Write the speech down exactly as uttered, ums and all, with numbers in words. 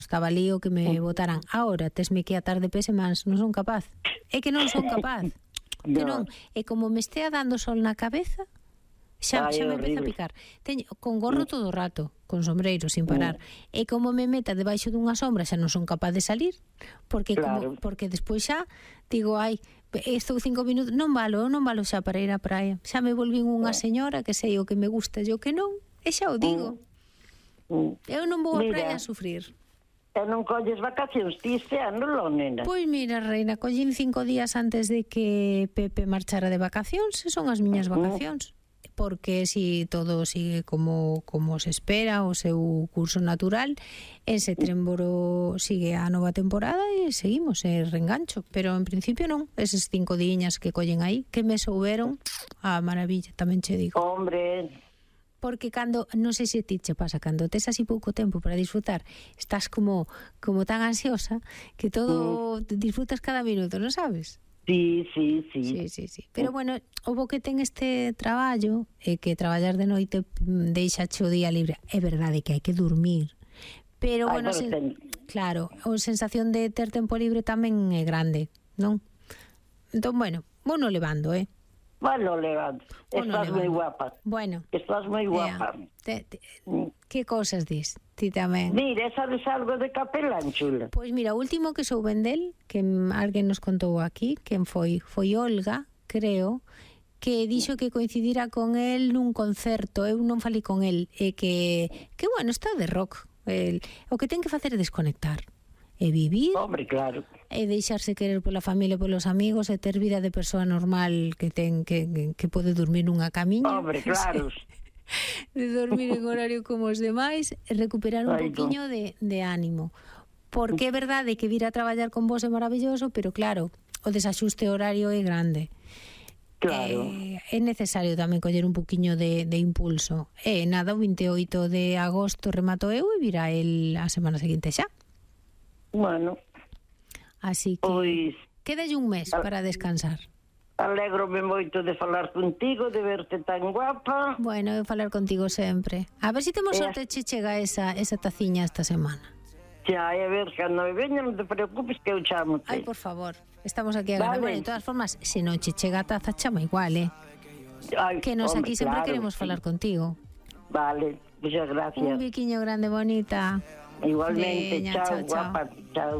Estaba lío que me botaran. Ahora, tesme que atar de pés e mans, non son capaz. É que non son capaz. Que non, e como me estea dando sol na cabeza, xa, Ai, xa é me empeza a horrible. picar. Teño con gorro todo o rato, con sombreiro sin parar. E como me meta debaixo dunha sombra, xa non son capaz de salir, porque Claro. como porque despois xa digo, ai, estou cinco minutos, non valo, non valo xa para ir á praia. Xa me volvín unha señora que sei o que me gusta e o que non, e xa o digo. Mm. Eu non vou á Mira. praia a sufrir. E non colles vacacións ti este ano, lo, nena? Pois mira, reina, collín cinco días antes de que Pepe marchara de vacacións, e son as miñas vacacións. Porque si todo sigue como como se espera, o seu curso natural, en setembro sigue a nova temporada e seguimos, e reengancho. Pero en principio non, eses cinco diñas que collen aí, que me souberon a maravilla, tamén che digo. Hombre, Porque cando, non sei se ti che pasa, cando tes así pouco tempo para disfrutar, estás como como tan ansiosa que todo mm. disfrutas cada minuto, non sabes? sí, sí, sí. Sí, sí, sí. Pero bueno, o bo que ten este traballo é que traballar de noite deixa o día libre. É verdade que hai que dormir. Pero Ai, bueno, pero sen, ten... claro, a sensación de ter tempo libre tamén é grande, non? Entón, bueno, vou no levando, eh? Bueno, levando. Vou no Estás moi levando. guapa. Bueno. Estás moi guapa. Te, te, que cosas dis? Ti tamén. Mira, sabes algo de Capelán, chula? Pois mira, o último que souben del, que alguén nos contou aquí, quen foi? Foi Olga, creo, que dixo que coincidira con el nun concerto. Eu non falei con el, e que, que bueno, está de rock. El, o que ten que facer é desconectar. E vivir, Hombre, claro. e deixarse querer pola familia, polos amigos, e ter vida de persoa normal que ten que, que, que pode dormir nunha camiña. Hombre, claro. De dormir en horario como os demais, e recuperar un Ai, poquinho de, de ánimo. Porque é verdade que vir a traballar con vos é maravilloso, pero claro, o desaxuste horario é grande. Claro. Eh, é necesario tamén coller un poquinho de, de impulso. E nada, o veintioito de agosto remato eu e virá el a semana seguinte xa. Bueno. Así que Pois... quédalle un mes para descansar. Alégrome moito de falar contigo, de verte tan guapa. Bueno, eu falar contigo sempre. A ver se si temos Eh. sorte che chega esa, esa taciña esta semana. Xa, e a ver, cando me veña, non te preocupes que eu chamo. Ai, por favor, estamos aquí a ganar. Vale. Bueno, de todas formas, se non che chega a taza, chama igual, eh? Ai, Que nos hombre, aquí sempre claro, queremos sí. falar contigo. Vale, muchas gracias. Un biquiño grande, bonita. Igualmente, Veña, chao, chao, chao. guapa, chao.